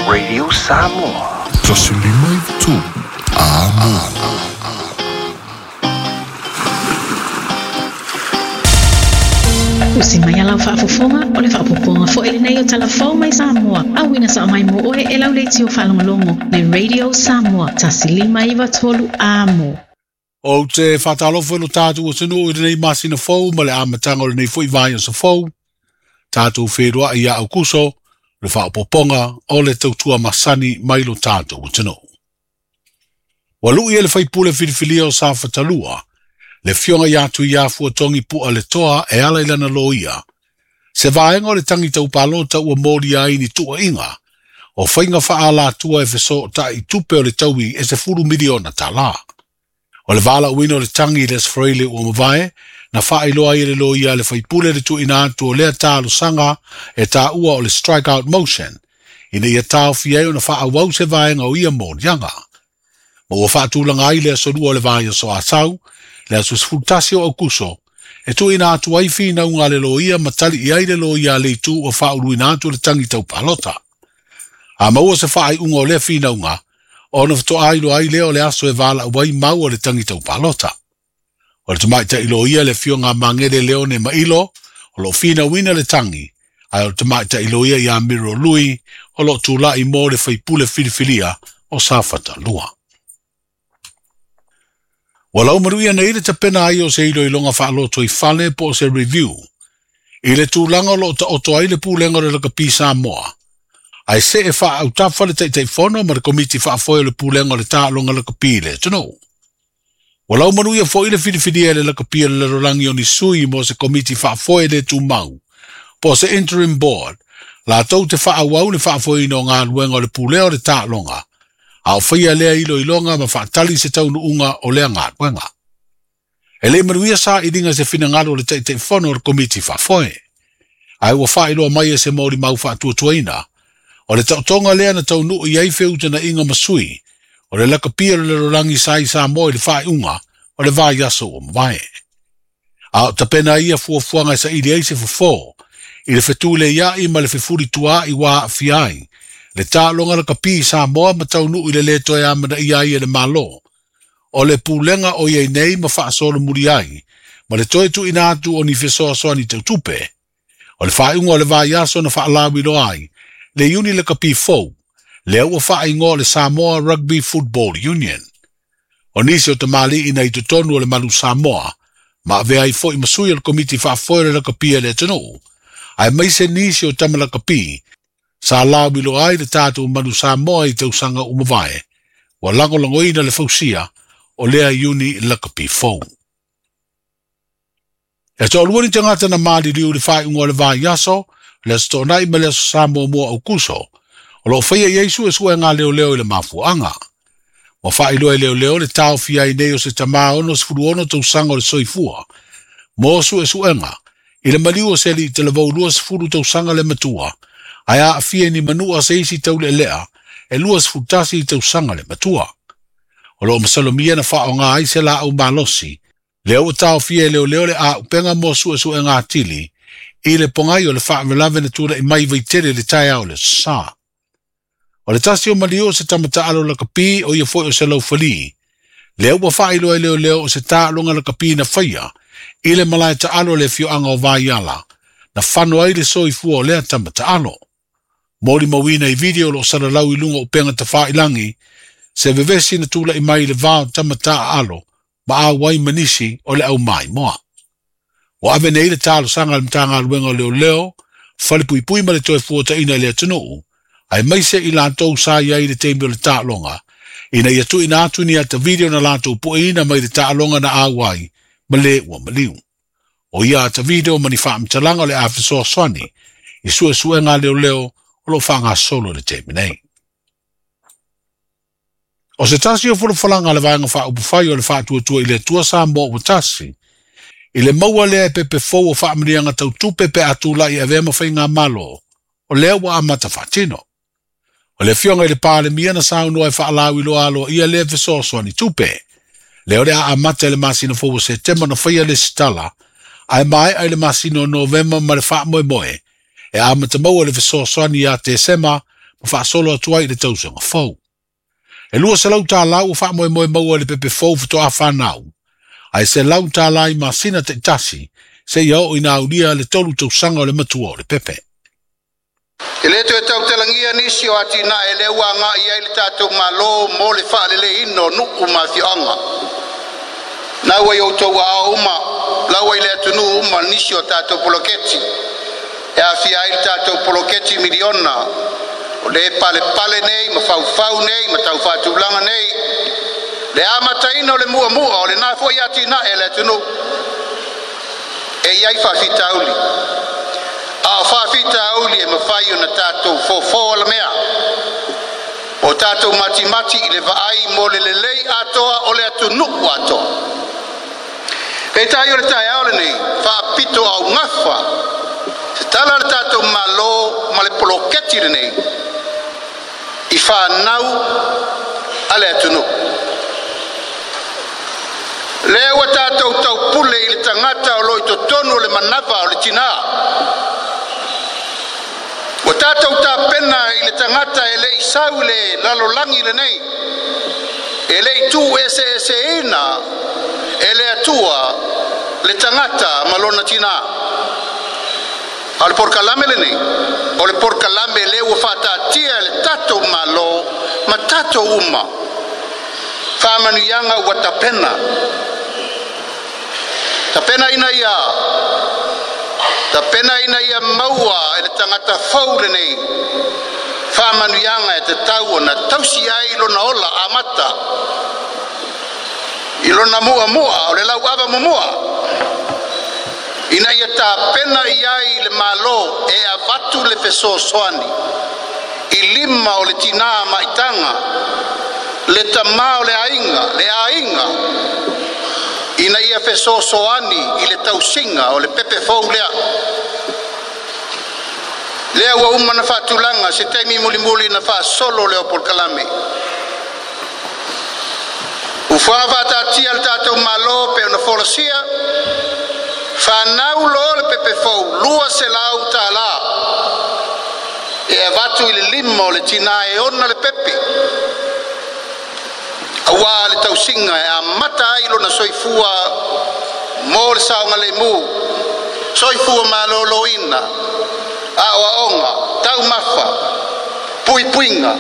Radio Samoa. 153 Amo. Usi mai alau faafofoga o le faapopoga foi lenei o Talafou mai Samoa. Auina sao mai mo oe e lau leitio faalogologo le Radio Samoa 153 Amo. Ou te faatalofa i lo tatou atunuu i lenei masina fou ma le amataga o lenei foi vaiaso fou. Tatou feiloai ia Aukuso, le faaopoopoga o le tautua masani mai lo tatou atunuu. Ua lui e le faipule filifilia o Safatalua, le afioga ia Tuiafuatogi Pua le Toa e ala i lana loia. Se vaega o le tagi taupalota ua molia ai ni tuuaiga, o faiga faaalatua e fesootai tupe o le taui e 10 miliona tala. O le valaauina o le tagi i le Aso Faraile ua mavae, na faailoa ai e le loia a le faipule le tuuina atu o lea talosaga e taua o le strike out motion, ina ia taofia ai ona faaauau se vaega o ia moliaga. Ma ua faatulaga ai le aso lua o le vaiaso Asau, le aso 11 o Aukuso, e tuuina atu ai finauga a le loia ma tali i ai le loia a le itu ua faauluina atu le tagi taupalota. A maua se faaiuga o lea finauga, ona faatoa iloa ai lea o le aso e valaau ai mau o le tagi taupalota. O le tamaitai loia le afioga a Magele Leone Mailo, o lo o finauina le tagi, ae o le tamaitai loia ia Miro Lui, o lo o tulai mo le faipule filifilia o Safatalua. Ua laumanuia nei le tapena ai o se iloiloga faaloto i fale po o se review i le tulaga o lo o taoto ai le pulega o le lakapi Samoa, ae see faaautafa le Taitaifono ma le Komiti Faafoe o le Pulega o le Taaloga Lakapi i le atunuu. Ua laumanuia foi le filifilia e le lakapi o le lalolagi o ni sui mo se Komiti Faafoe le tumau, po o se interim board, latou te faaauau le faafoeina o galuega o le pulea o le taaloga, a o faia lea iloiloga ma faatali se taunuuga o lea galuega. E le i manuia sailiga se finagalo o le Taitaifono o le Komiti Faafoe, ae ua faailoa mai e se molimau faatuatuaina, o le taotoga lea na taunuu i ai feutanaiga ma sui o le lakapi o le lalolagi sa i Samoa i le faaiuga o le vaiaso ua mavae. A o tapena ia fuafuaga e saili ai se fofo i le fetuleiai ma le fefulituaai ua aafia ai le taaloga lakapi i Samoa ma taunuu i le lē toe amanaia ai e le Malo o le pulega o i ai nei ma faasolomuli ai ma le toe tuuina atu o ni fesoasoani tautupe. O le faaiuga o le vaiaso na faalauiloa ai le iuni lakapi fou, lea ua faaigoa o le Samoa Rugby Football Union. O nisi o tamalii na i totonu o le Malu Samoa, ma avea ai foi ma sui o le Komiti Faafoe o le Lakapi a le atunuu, aemaise nisi o tama lakapi, sa lauiloa ai le tatou Manu Samoa i tausaga ua mavae, ua lagolagoina le fausia o lea iuni lakapi fou. E toalua ni tagata na maliliu i le faaiuga o le vaiaso, le Aso Toonai ma le Aso Sa muamua o Aukuso, o lo o faia i ai suesuega a leoleo i le mafuaaga. Ua faailoa e leoleo le taofia ai nei o se tama 66 tausaga o le soifua mo suesuega i le maliu o se alii talavou 20 tausaga le matua, ae aafia i ni manua se isi taulealea e 21 tausaga le matua. O lo o masalomia na faaaoga ai se laau malosi, lea ua taofia e leoleo le auupega mo suesuega atili i le pogai o le faalavelave na tulai mai i Vaitele i le taeao o le Aso Sa. O le tasi o maliu o se tama taalo lakapi o ia foi o se laufali, lea ua faailoa e leoleo o se taaloga lakapi na faia i le malae taalo o le afioaga o Vaiala, na fano ai le soifua o lea tama taalo. Molimauina i video o lo o salalau i luga o upega tafailagi, se vevesi na tulai mai i le va o tama taaalo ma auai ma nisi o le au maimoa. Ua ave nei le talosaga a le Matagaluega o Leoleo, Falepuipui ma le Toefuataina i le atunuu, aemaise i latou sa i ai i le taimi o le taaloga, ina ia tuuina atu ni ata video na latou pueina mai le taaloga na auai ma le ua maliu. O ia ata video ma ni faamatalaga o le a fesoasoani i suesuega a leoleo o lo o faagasolo i le taimi nei. O se tasi o folafolaga a le Vaega Faaupufai o le Faatuatua i le Atua Samoa ua tasi, i le maua lea e pepe fou o faamanuiaga tau tupe pe a tulai e avea ma faigamalo, o lea ua amata faatino. O le Afioga i le Palemia na saunoa e faalauiloa aloaia lea fesoasoani tupe. Lea o le a amata i le masina fou o Setema na faia le lesitala, ae maea i le masina o Novema ma le faamoemoe e amata maua le fesoasoani ia Tesema ma faasolo atu ai i le tausaga fou. E $200 ua faamoemoe maua i le pepe fou faatoa fanau, ae $100 i masina taitasi seia oo ina aulia le 3 tausaga o le matua o le pepe. E le toe tautalagia nisi o atinae lea ua agai ai le tatou Malo mo le faaleleiina o nuu ma afioaga. Na ua i outou aao uma, laua i le atunuu uma nisi o tatou poloketi. E aafia ai le tatou poloketi miliona, o le palepale nei ma faufau nei ma taufaatulaga nei. Le amataina o le muamua o lena foi atinae le atunuu. E i ai faafitauli. A o faafitauli e mafai ona tatou fofo alamea. O tatou matimati i le vaai mo le lelei atoa o le atunuu atoa. Peitai o le taeao lenei, faapito augafa, se tala le tatou Malo ma le poloketi lenei, i whanau a le atunuu. Lea ua tatou taupule i le tagata o lo i totonu o le manava o le tinā. Ua tatou tapena i le tagata e le i sau le lalolagi lenei, e le i tu eseeseina e le Atua le tagata ma lona tinā. A o le polokalame lenei, o le polokalame lea ua faataatia e le tatou Malo ma tatou uma. Faamanuiaga ua tapena. Tapena ina ia maua e le tagata fou lenei. Faamanuiaga e tatau ona tausi ai lona ola amata. I lona muamua o le lauava mumua. Ina ia tapena i ai le Malo e avatu le fesoasoani. I lima o le tinā maitaga, le tamā o le aiga, ina ia fesoasoani i le tausiga o le pepe fou lea. Lea ua uma na faatulaga se taimi mulimuli na faasolo lea o polokalame. Ufuaga faataatia le tatou Malo pe ona folasia, whanau lo le pepe fou, $200. E avatu i le lima o le tina e ona le pepe. Aua le tausiga e amata ai lona soifua mo le saoga lemu, soifua malōlōina, aoaoga, taumafa, puipuiga,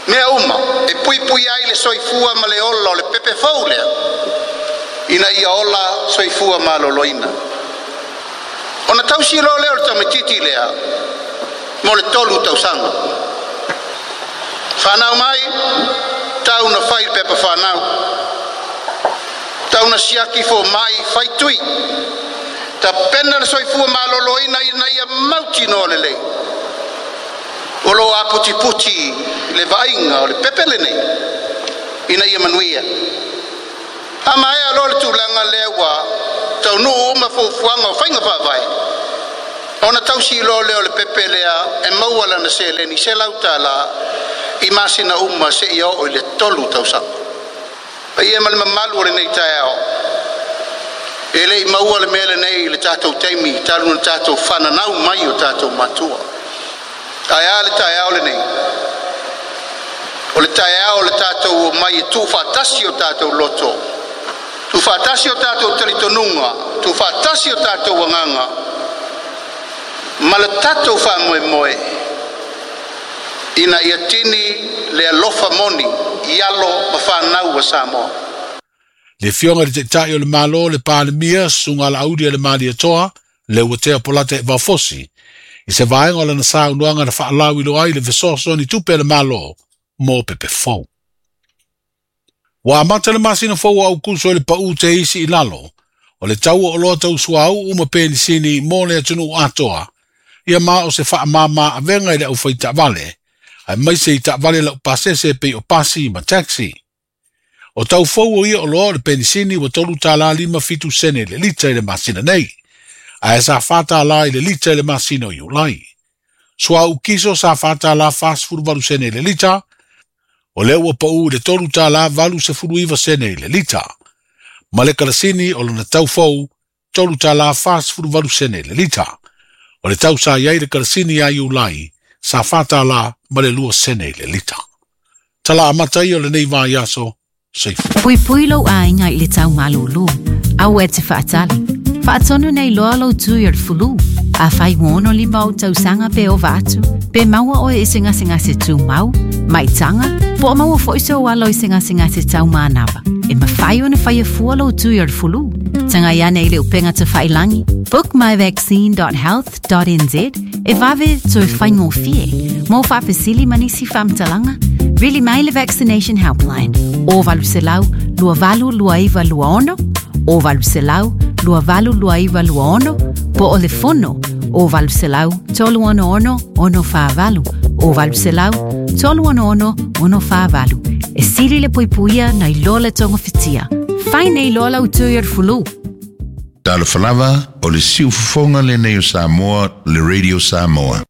mea uma e puipui ai le soifua ma le ola o le pepe fou lea, ina ia ola soifua malōlōina. Ona tausi loa lea o le tamaitiiti lea mo le 3 tausaga. Whanau mai, tau na whai pepa whanau. Tau na siaki fo mai whai tui. Ta pena le soifua malōlōina ina ia mauti no le lei. O lo a puti puti le vainga o le pepe lenei. Ina ia manuia. A maea lo le tūlanga lea ua tau nuu uma fuafuaga o faiga faavae. Ona tausi loa lea o le pepe lea e maua lana seleni $100 i masina uma seia oo i le 3 tausaga. Paia ma le mamalu o lenei taeao. E le i maua le mea lenei i le tatou taimi talu na tatou fananau mai o tatou matua. Ae a le taeao lenei. O le taeao o le tatou o mai e tuufaatasi o tatou loto. Tuufaatasi o tatou talitonuga, tuufaatasi o tatou agaga, ma le tatou faamoemoe ina ia tini le alofa moni i alo ma fanau a Samoa. Le fioga le taitai o le Malo le Palemia susuga Laauli a le Malietoa le Uatea Polata e Vaofosi i se vaega o lana saunoaga na faalauiloa ai le fesoasoani tupe a le Malo mo pepe fou. Ua amata le masina fou o Aukuso i le pau te isi i lalo, o le tau o oloa tausuauu ma penisini mo le atunuu atoa, ia ma o se faamāmā avega i le aufai taavale, ae maise i taavale lau pasese pei o pasi ma taxi. O tau fou o ia oloa o le penisini ua $3.57 le lita i le masina nei, ae sa $4 i le lita i le masina o Iulai. Suauu kiso sa $4.48 le lita, o lea ua pau i le $3.89 i le lita. Ma le kalasini o lona tau fou, $3.48 i le lita. O le tau sa iai le kalasini ia Iulai, sa $4 ma le 2 sene i le lita. Tala amata ia o lenei vaiaso, soifua. Puipui lou aiga i le tau malūlū. Aua e te faatali. Faatonu nei loa lou tui o le fulu. Afai ua 65 ou tausaga pe ova atu, pe maua oe i se gasegase tumau, maitaga, po o maua foi sou alo i se gasegase tau manava, e mafai ona faia fua lou tui o le fulu. Tagai ane i le upega tafailagi bookmyvaccine.health.nz e vave toe faigofie. Mo faafesili ma nisi faamatalaga, vili mai le Vaccination Helpline o 800 282926 o 800 282926 po o le fono o 800 366 648 o 800 366 648. E sili le puipuia nai lo le togafitia. Fai nei loa lau tui o le fulu. Talofa lava, o le siufofoga lenei o Samoa, le Radio Samoa.